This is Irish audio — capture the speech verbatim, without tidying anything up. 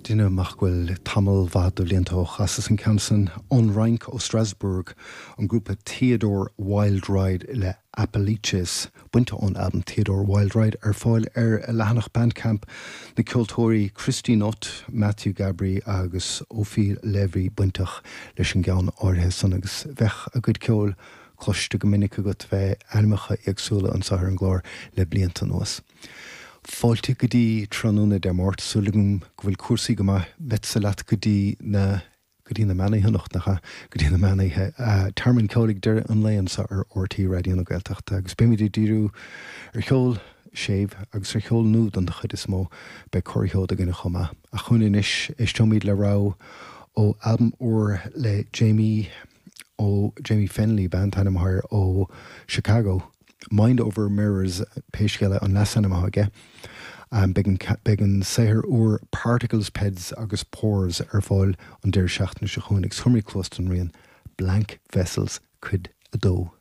Duine nach bhfuil tamall mhaith de bhlianta ó chasas an ceann san ón Fhrainc ó Strasbourg an grúpa Theodore Wild Ride le Appalachians bainte ón albam Theodore Wild Ride ar fáil ar a leathanach Bandcamp na ceoltóirí Christine Ott, Matthew Gabry agus Ophir Levy bainteach leis an gceann áirithe san agus bheadh a gcuid ceoil cloiste go minic agat bheith ainmneacha éagsúla anseo ar an gclár le blianta anuas. Fáilte go dtí tráthnóna Dé Máirt súil agam go bhfuil cúrsaí go maith beadsa leat go dtí na go dtí na meánoíche nach go dtí na meánoíche Tearmann Ceoil ag deireadh an lae anseo ar RTÉ Raidió na Gaeltachta agus beimid ag díriú ar cheol séimh agus ar cheol nua don chuid is mó beidh corrsheoid againn chomh maith. A chun anois éisteoimid le rogha ó albam úr le Jamie ó Jamie Fenley an t-ainm air ó Chicago. Mind Over Mirrors pé scéal é an leasainm aige. Um, beidh an saothar úr Particles Peds agus Pores ar fáil an deireadh seachtaine seo chugainn agus chuimrí clostan rian Blank Vessels cuid a dó.